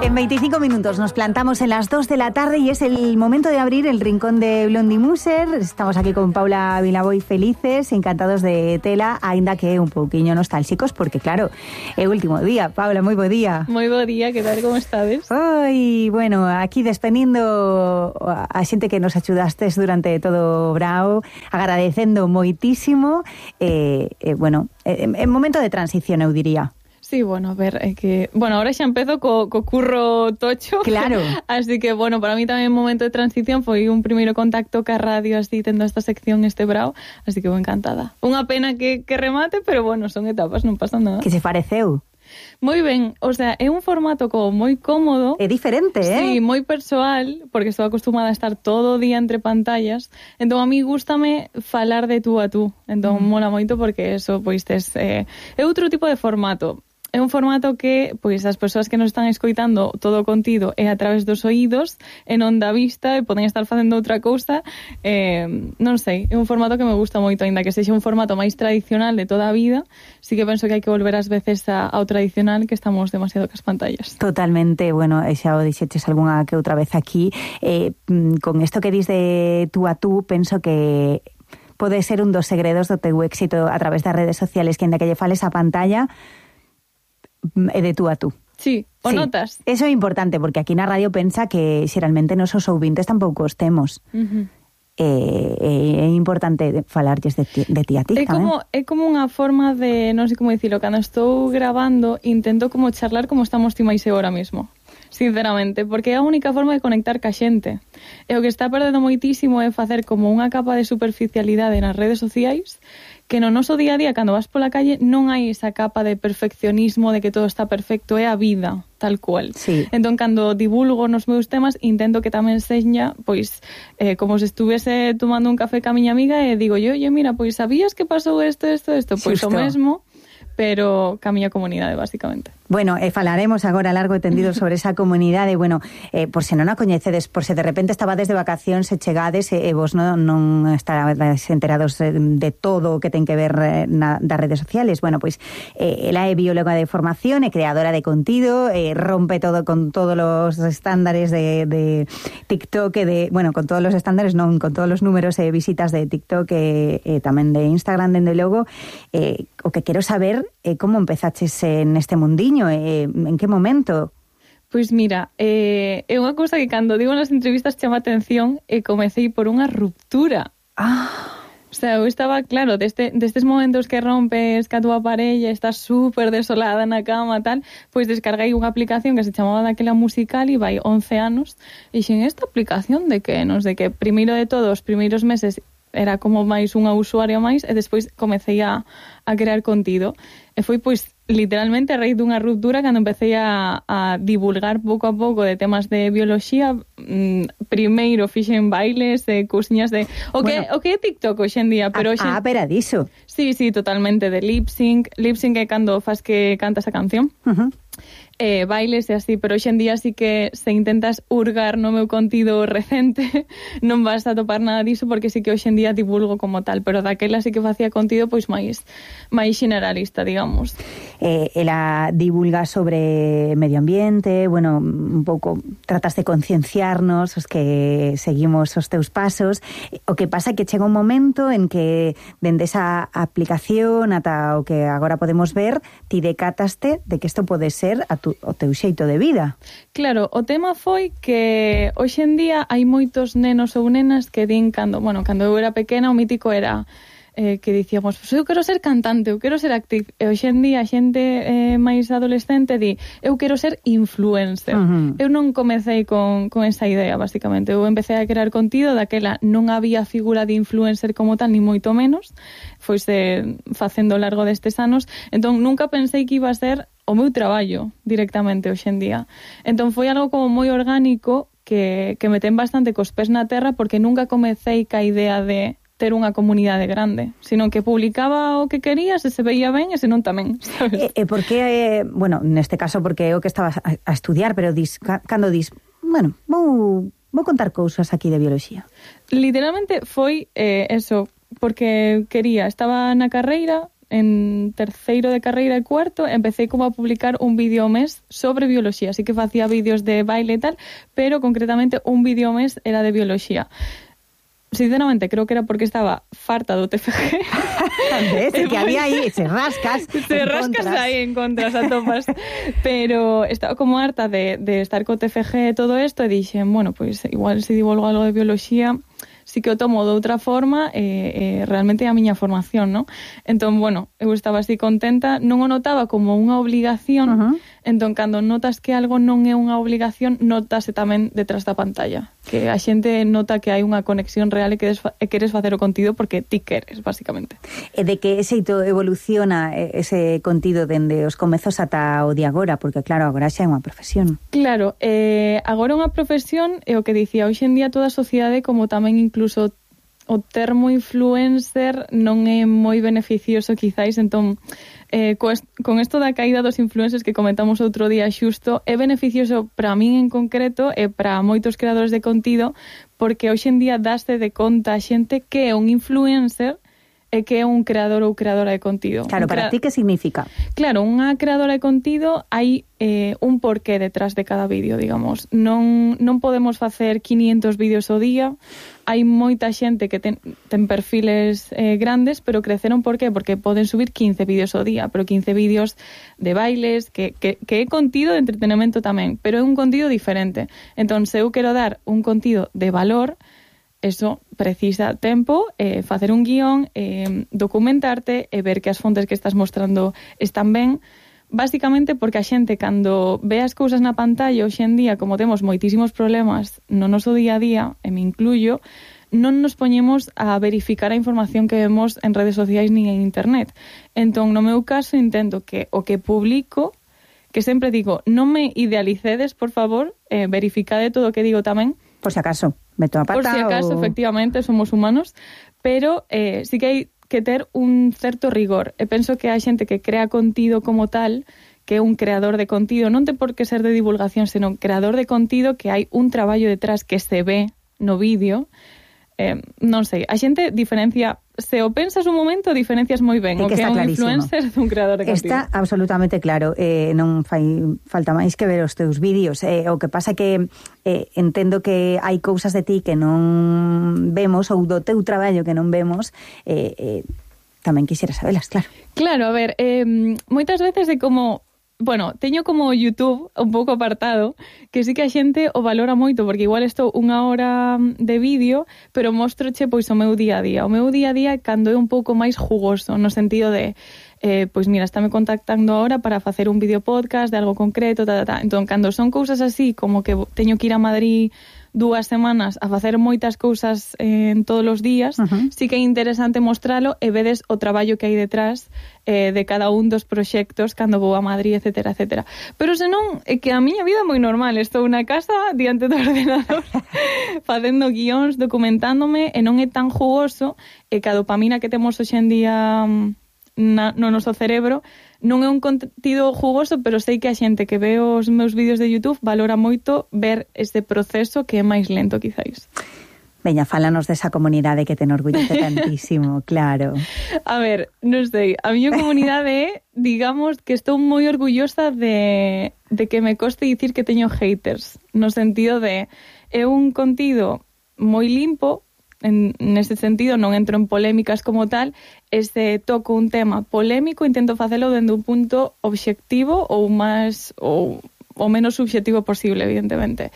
En 25 minutos nos plantamos en las 2 de la tarde y es el momento de abrir el rincón de Blondie Muser. Estamos aquí con Paula Vilaboy felices, encantados de tela, aínda que un pouquiño nostálxicos, porque claro, é o último día. Paula, moi bo día. Moi bo día, que tal, como estades? Oi, bueno, aquí despedindo a xente que nos axudastes durante todo o brao, agradecendo moitísimo, bueno, en momento de transición, eu diría. Sí, bueno, a ver, é que... Bueno, ahora xa empezo co curro tocho. Claro. Así que, bueno, para mí tamén un momento de transición foi un primeiro contacto ca radio, así, tendo esta sección este brao, así que vou encantada. Unha pena que remate, pero bueno, son etapas, non pasa nada. Que se pareceu? Moi ben, o sea, é un formato como moi cómodo. É diferente, Sí, moi persoal, porque estou acostumada a estar todo o día entre pantallas. Entón, a mí gústame falar de tú a tú. Entón, mola moito porque eso, pois, é outro tipo de formato. É un formato que, pois, as persoas que nos están escoitando todo o contido é a través dos oídos e non da vista e poden estar facendo outra cousa. Non sei, é un formato que me gusta moito, aínda que sexa un formato máis tradicional de toda a vida. Sí que penso que hai que volver ás veces ao tradicional, que estamos demasiado cas pantallas. Totalmente, bueno, xa o dixeches algunha que outra vez aquí. Con isto que dis de tú a tú, penso que pode ser un dos segredos do teu éxito a través das redes sociales, que ainda que lle fales a pantalla é de tú a tú. Sí, o sí. notas. Eso é importante, porque aquí na radio pensa que xeralmente nosos ouvintes tampouco os temos. É importante falarlles de ti a ti tamén. É como unha forma de, non sei como dicilo, cando estou grabando intento como charlar como estamos ti máis eu ahora mismo, sinceramente, porque é a única forma de conectar ca xente. E o que está perdendo moitísimo é facer como unha capa de superficialidade nas redes sociais, que no noso día a día, cando vas pola calle, non hai esa capa de perfeccionismo, de que todo está perfecto, é a vida, tal cual. Sí. Entón, cando divulgo nos meus temas, intento que tamén seña, pois, como se estuvese tomando un café ca miña amiga e digo yo, mira, pois, sabías que pasou isto? Pois o mesmo, pero ca miña comunidade, basicamente. Bueno, falaremos agora largo e tendido sobre esa comunidade. Bueno, por se non a coñecedes, por se de repente estabades de vacacións e chegades e vos non estarades enterados de todo o que ten que ver das redes sociales. Bueno, pois ela é bióloga de formación e creadora de contido, rompe todo con todos os estándares de TikTok e bueno, con todos os estándares, non, con todos os números e visitas de TikTok e tamén de Instagram, dende logo. O que quero saber é como empezaches neste mundiño. En que momento? Pois mira, é unha cousa que cando digo nas entrevistas chama atención e comecei por unha ruptura. O sea, eu estaba, claro, destes momentos que rompes ca túa parella, estás súper desolada na cama, tal, pois descarguei unha aplicación que se chamaba daquela Musical e vai 11 anos, e xin, esta aplicación de que, non sei que, primeiro de todo, os primeiros meses era como máis unha usuaria máis e despois comecei a crear contido. E foi, pois, literalmente a raíz dunha ruptura cando empecé a divulgar pouco a pouco de temas de bioloxía. Primeiro fixen bailes, cousiñas de... O que é TikTok hoxe en día, pero hoxe... pero diso. Sí, totalmente, de lip sync. Lip sync é cando fas que cantas a canción. Bailes e así, pero hoxe en día sí que se intentas hurgar no meu contido recente non vas a topar nada diso, porque sí que hoxe en día divulgo como tal, pero daquela sí que facía contido pois máis generalista, digamos. Ela divulga sobre medio ambiente, bueno, un pouco tratas de concienciarnos os que seguimos os teus pasos. O que pasa é que chega un momento en que dende esa aplicación ata o que agora podemos ver, ti decataste de que isto pode ser o teu xeito de vida. Claro, o tema foi que hoxe en día hai moitos nenos ou nenas que din cando eu era pequena, o mítico era que dicíamos, eu quero ser cantante, eu quero ser actriz. E hoxe en día a xente máis adolescente di, eu quero ser influencer. Eu non comecei con esa idea, basicamente. Eu empecé a crear contido, daquela non había figura de influencer como tal, ni moito menos. Foise facendo ao largo destes anos. Entón, nunca pensei que iba a ser o meu traballo directamente hoxe en día. Entón, foi algo como moi orgánico que me ten bastante cos pés na terra, porque nunca comecei ca idea de ter unha comunidade grande, sino que publicaba o que quería, se veía ben e se non tamén, sabes? Por que, bueno, neste caso porque é o que estabas a estudiar, pero cando dis, bueno, vou contar cousas aquí de bioloxía. Literalmente foi eso, porque quería, estaba na carreira, en terceiro de carreira e cuarto, empecé como a publicar un vídeo ao mes sobre bioloxía. Así que facía vídeos de baile e tal, pero concretamente un vídeo ao mes era de bioloxía. Sinceramente, creo que era porque estaba farta do TFG. ¿Ves? Que había aí, se rascas aí en contras a topas. Pero estaba como harta de estar co TFG e todo isto e dixen, bueno, pois igual se divulgo algo de bioloxía, sí que o tomo de outra forma realmente é a miña formación, ¿no? Entón, bueno, eu estaba así contenta, non o notaba como unha obligación, entón, cando notas que algo non é unha obligación, notase tamén detrás da pantalla, que a xente nota que hai unha conexión real e queres facer o contido porque ti queres, basicamente. E de que xeito evoluciona ese contido dende os comezos ata o de agora? Porque, claro, agora xa é unha profesión. Claro, agora é unha profesión, e o que dicía, hoxe en día toda a sociedade, como tamén incluso o termo influencer non é moi beneficioso quizáis, entón con isto da caída dos influencers que comentamos outro día xusto, é beneficioso para min en concreto e para moitos creadores de contido, porque hoxe en día dáste de conta a xente que é un influencer e que é un creador ou creadora de contido. Claro, para ti que significa? Claro, unha creadora de contido hai un porqué detrás de cada vídeo, digamos. Non podemos facer 500 vídeos ao día. Hai moita xente que ten perfiles grandes, pero creceron por qué? Porque poden subir 15 vídeos ao día, pero 15 vídeos de bailes, que é contido de entretenimento tamén, pero é un contido diferente. Entón, se eu quero dar un contido de valor, eso precisa tempo, facer un guión, documentarte e ver que as fontes que estás mostrando están ben, basicamente porque a xente cando ve as cousas na pantalla hoxe en día, como temos moitísimos problemas no noso día a día, e me incluyo, non nos poñemos a verificar a información que vemos en redes sociais nin en internet. Entón, no meu caso, intento que o que publico, que sempre digo, non me idealicedes, por favor, verificade todo o que digo tamén. Por si acaso, meto a pata. Por si acaso, efectivamente, somos humanos, pero sí que hai que ter un certo rigor. E penso que hai xente que crea contido como tal, que é un creador de contido, non ten por que ser de divulgación, senón creador de contido, que hai un traballo detrás que se ve no vídeo. Non sei, a xente diferencia, se o pensas un momento, diferencias moi ben o que é un influencer dun creador de contido. Está absolutamente claro, non fai falta máis que ver os teus vídeos. O que pasa que entendo que hai cousas de ti que non vemos, ou do teu traballo que non vemos, tamén quixera sabelas, claro. Claro, a ver, moitas veces é como... Bueno, teño como YouTube un pouco apartado, que sí que a xente o valora moito, porque igual estou unha hora de vídeo, pero mostroche pois o meu día a día. O meu día a día cando é un pouco máis jugoso, no sentido de, pois mira, estáme contactando ahora para facer un vídeo podcast de algo concreto, Entón, cando son cousas así, como que teño que ir a Madrid 2 semanas a facer moitas cousas en todos os días, sí que é interesante mostralo e vedes o traballo que hai detrás de cada un dos proxectos cando vou a Madrid, etcétera, etcétera. Pero senón, é que a miña vida é moi normal. Estou na casa, diante do ordenador, facendo guións, documentándome, e non é tan jugoso, e que a dopamina que temos hoxe en día no noso cerebro non é un contido jugoso, pero sei que a xente que ve os meus vídeos de YouTube valora moito ver ese proceso que é máis lento, quizáis. Veña, fálanos desa comunidade que te enorgullece tantísimo, claro. A ver, non sei, a miña comunidade é, digamos, que estou moi orgullosa de que me coste dicir que teño haters, no sentido de, é un contido moi limpo, nese sentido non entro en polémicas como tal, toco un tema polémico, intento facelo dende un punto obxectivo ou menos subxectivo posible, evidentemente.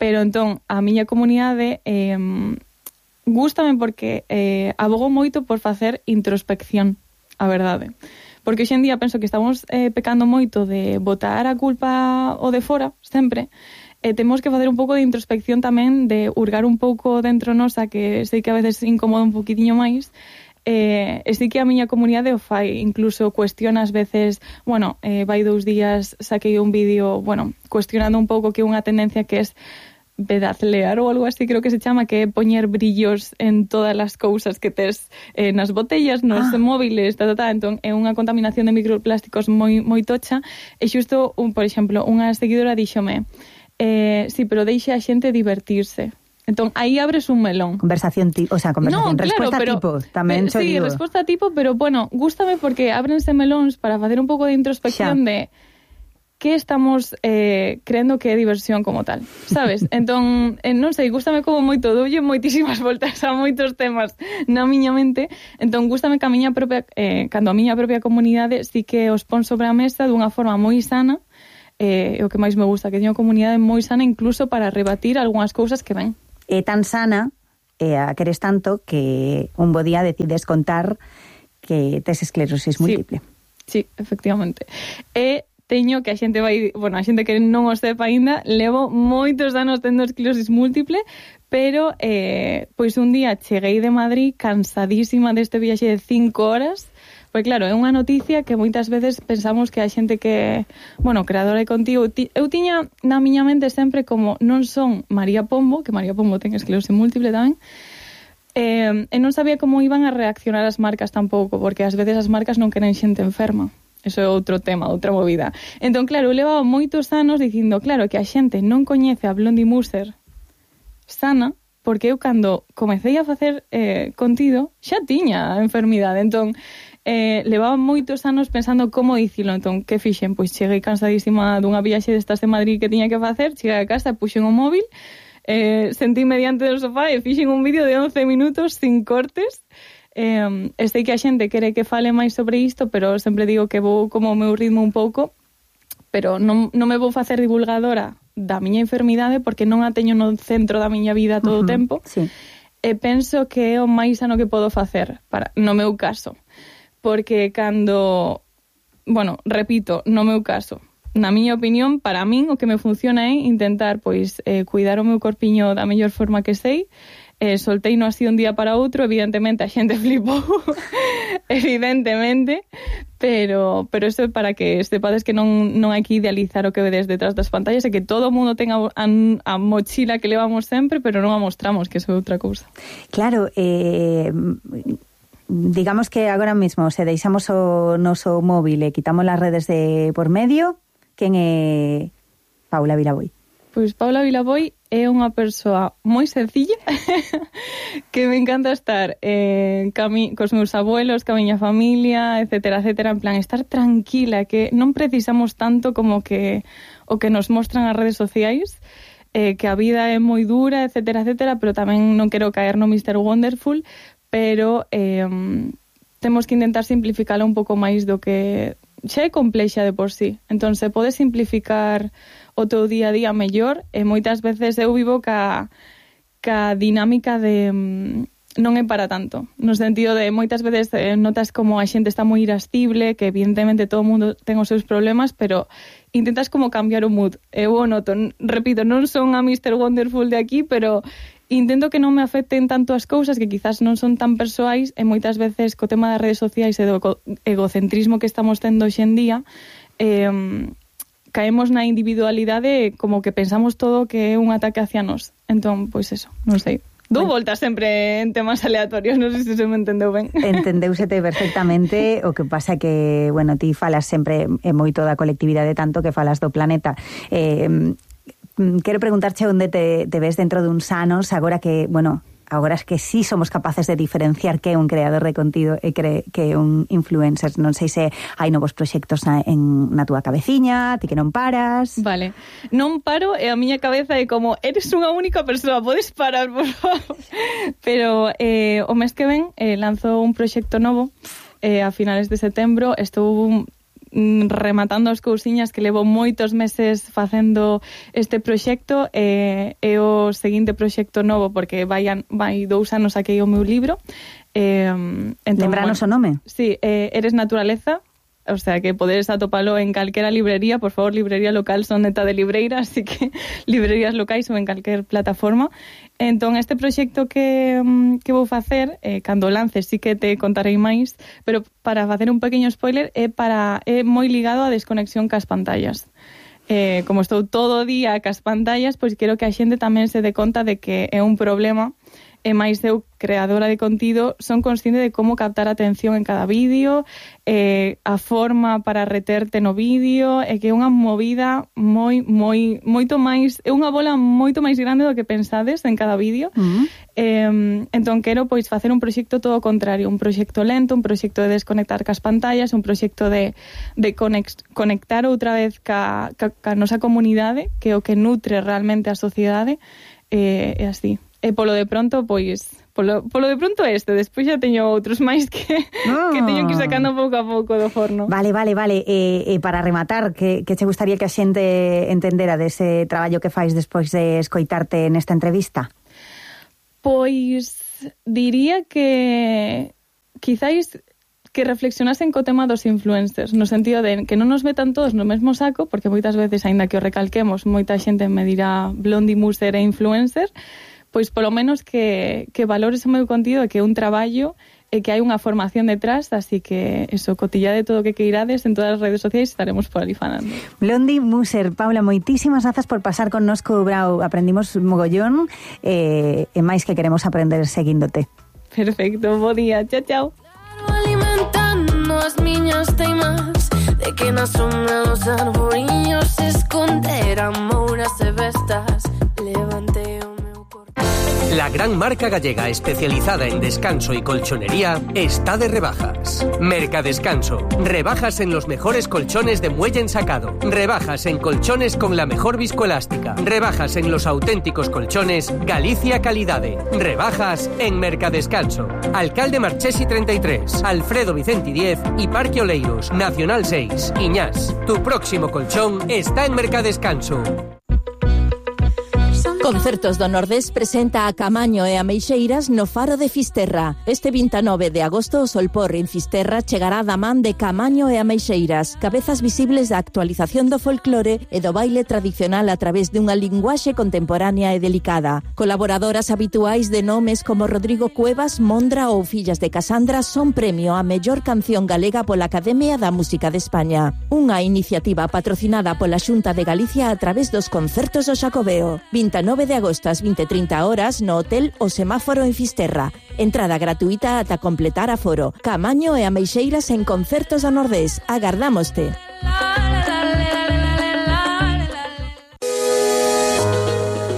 Pero entón, a miña comunidade gústame porque abogo moito por facer introspección, a verdade. Porque hoxe en día penso que estamos pecando moito de botar a culpa o de fora, sempre. Temos que facer un pouco de introspección tamén, de hurgar un pouco dentro nosa, que sei que a veces incomoda un poquitiño máis, e sei que a miña comunidade o fai, incluso cuestiona ás veces, bueno, vai 2 días, saquei un vídeo, bueno, cuestionando un pouco que unha tendencia que es bedazlear ou algo así, creo que se chama, que é poñer brillos en todas as cousas que tes nas botellas, nos móviles, entón é unha contaminación de microplásticos moi tocha, e xusto, por exemplo, unha seguidora díxome, sí, pero deixe a xente divertirse. Entón, aí abres un melón. Conversación resposta claro, tipo, tamén sí, digo. resposta tipo, pero bueno, gústame porque ábrense melóns para facer un pouco de introspección de que estamos creendo que é diversión como tal, sabes? Entón, non sei, gústame como moito, doulle moitísimas voltas a moitos temas na miña mente, entón gústame que a miña propia, cando a miña propia comunidade sí que os pon sobre a mesa dunha forma moi sana, o que máis me gusta, que teño comunidade moi sana incluso para rebatir algunhas cousas que ven. É tan sana, a queres tanto, que un bo día decides contar que tes esclerosis múltiple. Sí, efectivamente. Teño que a xente a xente que non o sepa aínda, levo moitos anos tendo esclerosis múltiple, pero pois un día cheguei de Madrid cansadísima deste viaxe de 5 horas, pois claro, é unha noticia que moitas veces pensamos que a xente que, creadora de contigo, eu tiña na miña mente sempre como non son María Pombo, que María Pombo ten esclerosis múltiple tamén, e non sabía como iban a reaccionar as marcas tampouco, porque ás veces as marcas non queren xente enferma. Eso é outro tema, outra movida. Entón, claro, eu levaba moitos anos dicindo, claro, que a xente non coñece a Blondie Muser sana, porque eu cando comecei a facer contido xa tiña a enfermidade. Entón, levaba moitos anos pensando como dicilo. Entón, que fixen? Pois cheguei cansadísima dunha viaxe destas de Madrid que tiña que facer, cheguei a casa, puxen o móvil, sentí mediante do sofá e fixen un vídeo de 11 minutos sin cortes. Sei que a xente quere que fale máis sobre isto, pero sempre digo que vou como o meu ritmo un pouco, pero non me vou facer divulgadora da miña enfermidade porque non a teño no centro da miña vida todo o tempo. Sí. E penso que é o máis sano que podo facer no meu caso, porque cando, repito, no meu caso, na miña opinión, para min o que me funciona é intentar cuidar o meu corpiño da mellor forma que sei. Solteino así un día para outro, evidentemente a xente flipou, evidentemente, pero eso é para que sepades que non hai que idealizar o que vedes detrás das pantallas, e que todo o mundo ten a mochila que levamos sempre, pero non a mostramos, que eso é outra cousa. Claro, digamos que agora mesmo se deixamos o noso móvil e quitamos las redes de por medio, quen é Paula Vilaboy? Pois Paula Vilaboy é unha persoa moi sencilla que me encanta estar cos meus abuelos, ca miña familia, etcétera, etcétera, en plan estar tranquila, que non precisamos tanto como que o que nos mostran as redes sociais, que a vida é moi dura, etcétera, etcétera, pero tamén non quero caer no Mr. Wonderful, pero temos que intentar simplificala un pouco máis do que xa é complexa de por sí. Entón, se pode simplificar o teu día a día mellor, e moitas veces eu vivo ca dinámica de non é para tanto, no sentido de moitas veces notas como a xente está moi irascible, que evidentemente todo o mundo ten os seus problemas, pero intentas como cambiar o mood. Eu o noto, repito, non son a Mr. Wonderful de aquí, pero intento que non me afecten tanto as cousas que quizás non son tan persoais, e moitas veces co tema das redes sociais e do egocentrismo que estamos tendo hoxe en día, caemos na individualidade como que pensamos todo que é un ataque hacia nós. Entón, pois eso, non sei. Dou voltas sempre en temas aleatorios, non sei se me entendeu ben. Entendeusete perfectamente, o que pasa que, ti falas sempre moito da colectividade, tanto que falas do planeta. Quero preguntarche onde te ves dentro duns anos, agora que, agora es que sí somos capaces de diferenciar que é un creador de contido e que é un influencer. Non sei se hai novos proxectos na túa cabeciña, ti que non paras. Vale, non paro e a miña cabeza é como, eres unha única persoa, podes parar, por favor. Pero o mes que ven lanzo un proxecto novo a finales de setembro. Estou rematando as cousiñas que levo moitos meses facendo este proxecto, e o seguinte proxecto novo, porque vai 2 anos saquei o meu libro. Lembranos o nome? Sí, Eres Naturaleza. O sea, que podedes atopalo en calquera librería, por favor, librería local son neta de libreira, así que librerías locais ou en calquer plataforma. Entón, este proxecto que vou facer, cando lance sí que te contarei máis, pero para facer un pequeño spoiler, é moi ligado á desconexión cas pantallas. Como estou todo o día cas pantallas, pois quero que a xente tamén se dé conta de que é un problema e máis eu, creadora de contido, son consciente de como captar a atención en cada vídeo, a forma para reterte no vídeo, e que é unha movida moito máis, é unha bola moito máis grande do que pensades en cada vídeo. Entón quero pois facer un proxecto todo o contrario, un proxecto lento, un proxecto de desconectar cas pantallas, un proxecto de conectar outra vez ca nosa comunidade, que é o que nutre realmente a sociedade, e así. E polo de pronto, pois, polo de pronto despois xa teño outros máis que teño que ir sacando pouco a pouco do forno. Vale. E para rematar, que che gustaría que a xente entendera dese traballo que fais despois de escoitarte nesta entrevista? Pois diría que quizáis que reflexionasen co tema dos influencers, no sentido de que non nos metan todos no mesmo saco, porque moitas veces, aínda que o recalquemos, moita xente me dirá Blondie Muser e influencer, pois polo menos que valores o meu contido e que é un traballo e que hai unha formación detrás, así que eso, cotillade todo o que queirades en todas as redes sociais, estaremos por ali falando. Blondie Muser, Paula, moitísimas grazas por pasar connosco, Brau, aprendimos mogollón e máis que queremos aprender seguíndote. Perfecto, bo día, chao. Alimentando as miñas teimas de que na sombra dos arboriños se esconderan mouras e bestas. Levantei o meu corpo. La gran marca gallega especializada en descanso y colchonería está de rebajas. Mercadescanso. Rebajas en los mejores colchones de muelle ensacado. Rebajas en colchones con la mejor viscoelástica. Rebajas en los auténticos colchones Galicia Calidade. Rebajas en Mercadescanso. Alcalde Marchesi 33, Alfredo Vicenti 10 y Parque Oleiros, Nacional 6, Iñás. Tu próximo colchón está en Mercadescanso. Concertos do Nordés presenta a Camaño e a Meixeiras no Faro de Fisterra. Este 29 de agosto o Solpor en Fisterra chegará da man de Camaño e a Meixeiras, cabezas visibles da actualización do folclore e do baile tradicional a través dunha linguaxe contemporánea e delicada. Colaboradoras habituais de nomes como Rodrigo Cuevas, Mondra ou Fillas de Casandra son premio a mellor canción galega pola Academia da Música de España. Unha iniciativa patrocinada pola Xunta de Galicia a través dos concertos do Xacobeo. 29 de agosto ás 20:30 horas no Hotel O Semáforo en Fisterra. Entrada gratuita ata completar aforo. Camaño e a Meixeiras en concertos do Nordés. Agardámoste.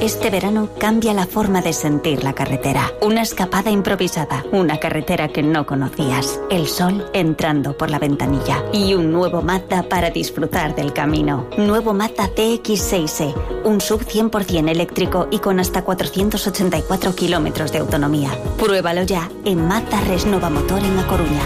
Este verano cambia la forma de sentir la carretera. Una escapada improvisada, una carretera que no conocías, el sol entrando por la ventanilla y un nuevo Mazda para disfrutar del camino. Nuevo Mazda CX-6e, un SUV 100% eléctrico y con hasta 484 kilómetros de autonomía. Pruébalo ya en Mazda Resnova Motor en A Coruña.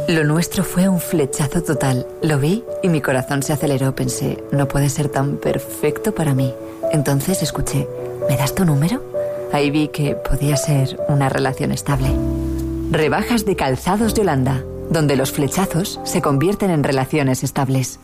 Lo nuestro fue un flechazo total. Lo vi y mi corazón se aceleró. Pensé, no puede ser tan perfecto para mí. Entonces escuché, ¿me das tu número? Ahí vi que podía ser una relación estable. Rebajas de Calzados de Holanda, donde los flechazos se convierten en relaciones estables.